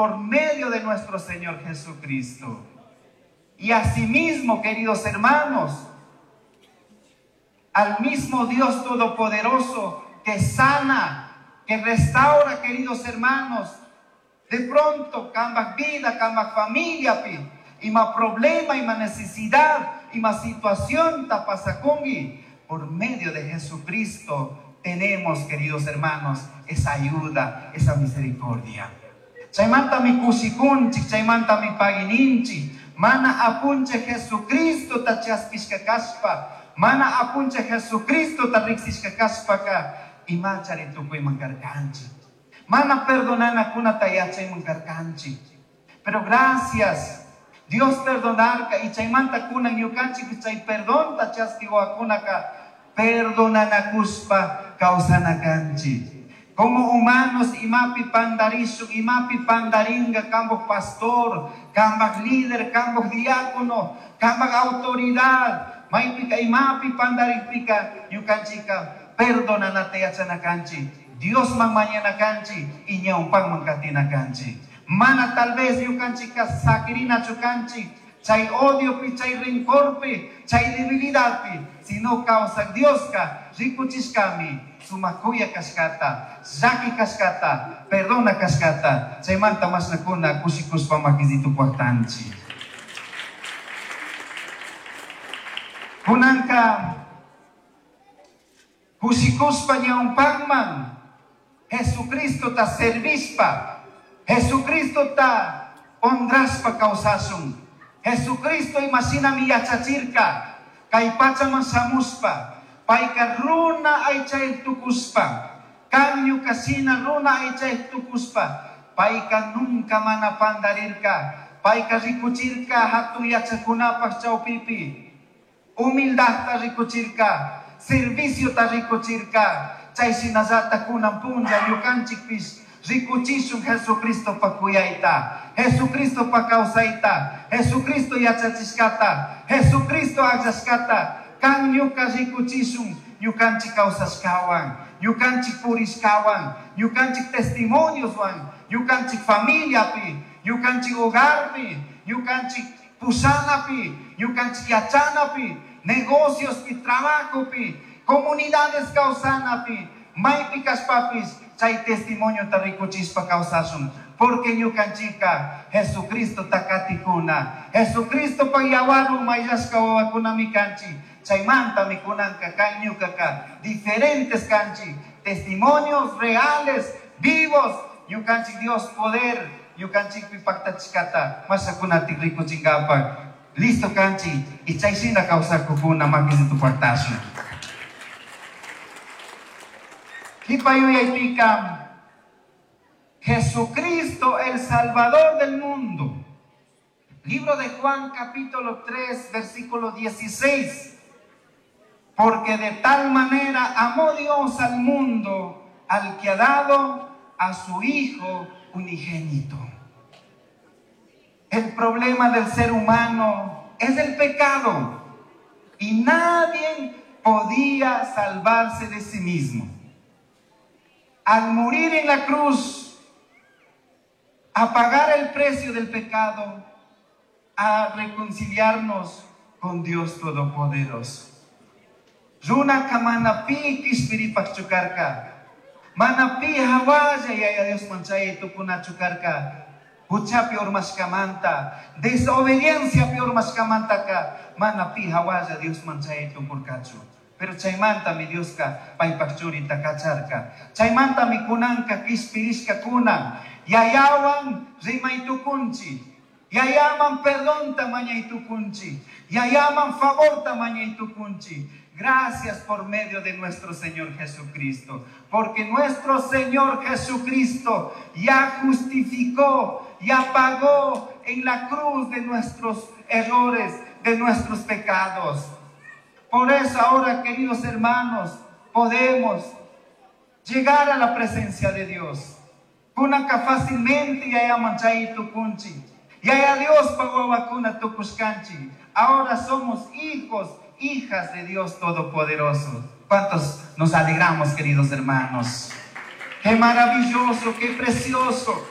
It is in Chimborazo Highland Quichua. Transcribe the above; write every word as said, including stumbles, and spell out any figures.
por medio de nuestro Señor Jesucristo. Y asimismo, queridos hermanos, al mismo Dios Todopoderoso que sana, que restaura, queridos hermanos, de pronto, cambaj vida, cambaj familia, pi, ima problema, ima necesidad, ima situación ta pasacungui, por medio de Jesucristo tenemos, queridos hermanos, esa ayuda, esa misericordia. Chaymanta mi kushikunchik, chaymanta mi paguininchik, mana apunche Jesucristo ta chaskishka kashpa, mana apunche Jesucristo ta riksishka kashpaka, imachari tukuyman karkanchik. Mana perdonanakunata yachayman karkanchik. Pero gracias, Dios perdonarka y chaymanta kunan ñukanchik chay perdonta chaskiwakunaka perdonanakuspa kawsanakanchik. Como humanos imapi pandarishun, imapi pandaringa kambaj pastor, kambaj líder, kambaj diácono, kambaj autoridad, maypika imapi pandarikpika ñukanchika perdonanata yachanakanchik, Diosman mañanakanchik y ñawpanman katinakanchik. Mana tal vez ñukanchika sakirinachu kanchik, chay odiopi, chay rencorpi, chay debilidadpi, sino kawsak Dioska rikuchishkami sumakuya kashkata, llaki kashkata, perdona kashkata, chaymanta mashnakuna kushikushpa makisitu pajtanchik. Kunanka kushikushpa ñawpanman Jesucristo ta servishpa, Jesucristo ta honrashpa kawsashun. Jesucristo imashinami yachachirka, kay pachaman shamushpa, payka runa aychayuq tukushpa, kan ñukashina runa aychayuq tukushpa, payka nunca mana pandarirka, payka rikuchirka hatun yachakunapaq chawpipi, humildadta rikuchirka, serviciota rikuchirka, chay shinallata kunan punlla ñukanchikpish rikuchishun Jesucristo pa kuyayta, Jesucristo pa kawsayta, Jesucristo yachachishkata, Jesucristo akllashkata, kan ñuka rikuchishun ñukanchik kawsashkawan, ñukanchik purishkawan, ñukanchik testimonioswan, ñukanchik familiapi, ñukanchik hogarpi, ñukanchik pushanapi, ñukanchik yachanapi, negociospi, trabajopi, comunidades kawsanapi, maypi kashpapis chay testimoniota rikuchishpa kawsashun, porque ñukanchika Jesucristo takatikuna, Jesucristo pa yawarwan mayllashka wawakunami kanchik, chaymantami kunanka kan ñukaka diferentes kanchik, testimonios reales, vivos, ñukanchik Dios poder, ñukanchikpi paktachishkata mashakunatik rikuchinkapak, listo kanchik, y chay shina kawsakukuna makisitu paktashun. Kipa yuyaypika, Jesucristo el Salvador del mundo. Libro de Juan capítulo tres, versículo dieciséis. Porque de tal manera amó Dios al mundo, al que ha dado a su Hijo unigénito. El problema del ser humano es el pecado y nadie podía salvarse de sí mismo. Al morir en la cruz, a pagar el precio del pecado, a reconciliarnos con Dios Todopoderoso. Runa kamana pi kishpiripak chukarka, mana pi hawalla yaya Dios manchay tukuna chukarka, huchapi urmashkamanta, desobediencia pi urmashkamantaka, mana pi hawalla Dios manchay tukurkachu. Pero chaymanta mi Dioska paypak churita kacharka. Chaymanta mi kunanka kishpirishka kunan. Yayawan rimay tukunchi. Yayaman perdonta mañay tukunchi. Yayaman favorta mañay tukunchi. Gracias por medio de nuestro Señor Jesucristo. Porque nuestro Señor Jesucristo ya justificó, ya pagó en la cruz de nuestros errores, de nuestros pecados. Por eso ahora, queridos hermanos, podemos llegar a la presencia de Dios. Kunanka fácilmente yaya manchay tukunchi. Yaya Dios pagó vacuna tukushkanchi. Ahora somos hijos, hijas de Dios Todopoderoso. ¿Cuántos nos alegramos, queridos hermanos? Qué maravilloso, qué precioso.